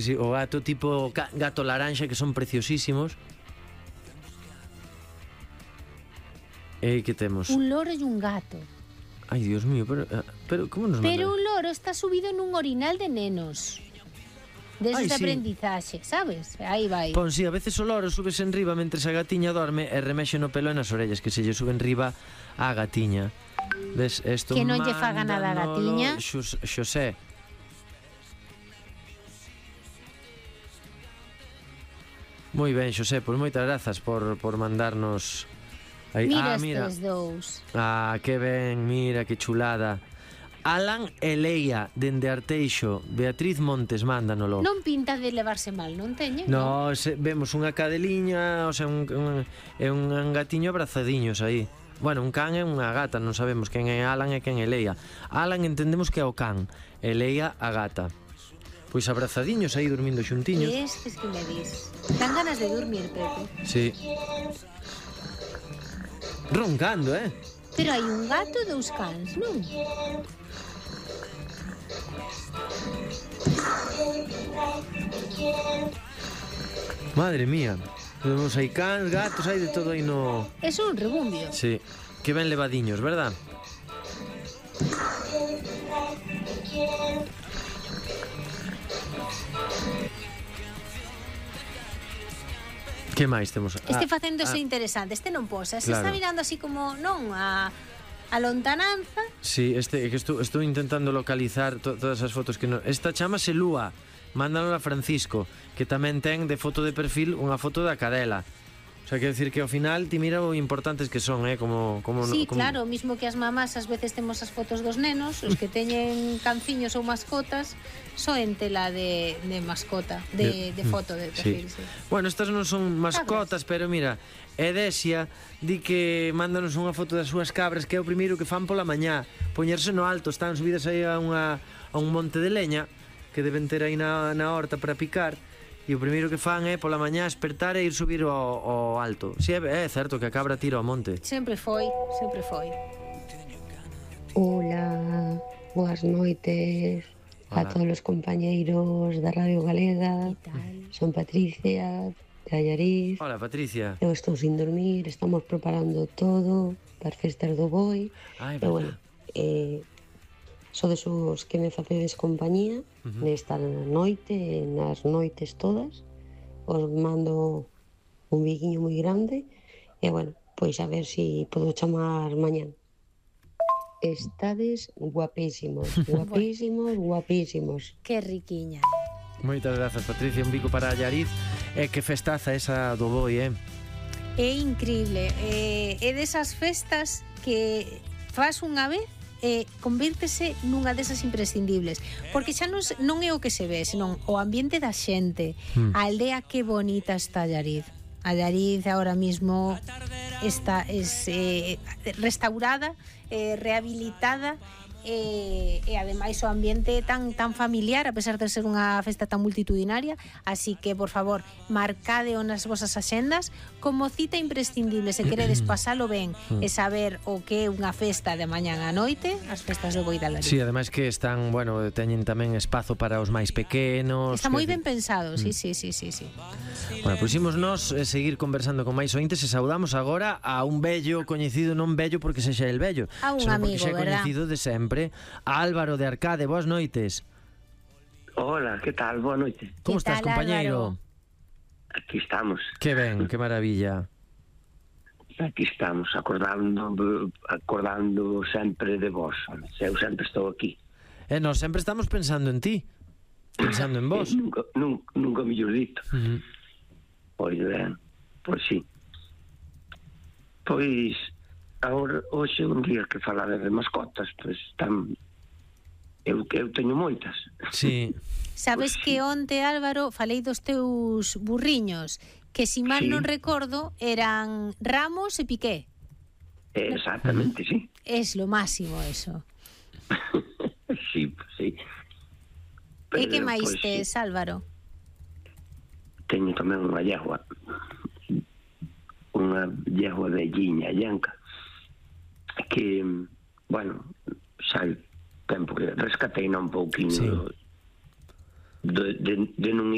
Sí, o gato tipo gato laranxa, que son preciosísimos. E que temos? Un loro e un gato. Ai, Dios mío, pero como nos Pero manda? un loro está subido nun orinal de nenos. Deses Ai, de sí. aprendizaxe, sabes? Aí vai. Pon, si, a veces o loro subes en riba mentre a gatiña dorme e remexe no pelo e nas orellas, que se lle suben riba a gatiña. Ves, esto Que non lle faga nada a gatiña. Xosé. Moi ben, Xosé, pois moitas grazas por mandarnos aí. Mira Mira. estes dous. Que ben, mira, que chulada. Alan e Leia, dende Arteixo. Beatriz Montes, mándanolo. Non pinta de levarse mal, non teñen? No, vemos unha cadeliña, o sea, un gatiño abrazadiños aí. Bueno, un can e unha gata, non sabemos quen é Alan e quen é Leia. Alan entendemos que é o can, e Leia a gata. Pois abrazadiños aí, dormindo xuntiños. E estes que me dis? Dan ganas de dormir, Pepe. Sí. Roncando, Pero hai un gato e dous cans, non? Madre mía. Vemos aí cans, gatos, hai de todo aí no... É un rebumbio. Sí. Que ben levadiños, verdad? Que máis temos? Este facéndose interesante, este non posa. Se Claro. está mirando así como, non, a lontananza. Sí, que estou intentando localizar todas as fotos que no... Esta chámase Lúa. Mándalo a Francisco, que tamén ten de foto de perfil unha foto da cadela. O sea, quero decir que ao final ti mira o importantes que son, como Sí, claro, mismo que as mamás ás veces temos as fotos dos nenos, os que teñen canciños ou mascotas, só en tela de mascota, de foto de perfil, sí. Bueno, estas non son mascotas, pero mira, Edesia di que mándanos unha foto das súas cabras, que é o primeiro que fan pola mañá, poñerse no alto, están subidas aí a un monte de leña que deben ter aí na horta para picar. E o primeiro que fan é pola mañá espertar e ir subir ao alto. Si, é certo que a cabra tira ao monte. Sempre foi, sempre foi. Hola, boas noites. Hola. A todos os compañeiros da Radio Galega. Son Patricia, de Allariz. Hola, Patricia. Eu estou sin dormir, estamos preparando todo para as festas do Boi. Ai, E bueno, sodes os que me facedes compañía nesta noite, nas noites todas. Os mando un biquiño moi grande e bueno, pois a ver se podo chamar mañán. Estades guapísimos, guapísimos, guapísimos. Que riquiña. Moitas grazas, Patricia, un bico para Allariz. E que festaza esa do Boi, É increíble, é desas festas que faz unha vez e convírtese nunha desas imprescindibles, porque xa non é o que se ve, senón o ambiente da xente, a aldea que bonita está Allariz. Allariz ahora mismo está restaurada, rehabilitada, e ademais o ambiente tan familiar, a pesar de ser unha festa tan multitudinaria. Así que, por favor, marcadeo nas vosas axendas como cita imprescindible se queredes pasalo ben e saber o que é unha festa de mañán a noite, as festas do Boi de Allariz. Sí, ademais que están, bueno, teñen tamén espazo para os máis pequenos. Está moi ben pensado, sí. Bueno, pois imos nós seguir conversando con máis ointes e saudamos agora a un vello coñecido, non vello porque sexa el vello, a un senón amigo, porque xa é verdad? coñecido de sempre, a Álvaro de Arcade. Boas noites. Hola, que tal? Boa noite. Como estás, tal, compañeiro? Álvaro? Aquí estamos. Que ben, que maravilla. Aquí estamos, acordando sempre de vos. Eu sempre estou aquí. E nós sempre estamos pensando en ti, pensando en vos. Nunca mellor dito. Pois ben, pois sí. Pois agora, hoxe un día que falaba de mascotas, pois eu teño moitas. Sí. Sabes que onte, Álvaro, falei dos teus burriños, que si mal non recordo eran Ramos e Piqué. Exactamente, sí. Es lo máximo eso. Sí. E que máis pois, tes, Álvaro? Teño tamén unha yegua velliña, llanca, que, bueno, xa hai tempo que rescatei un pouquinho de non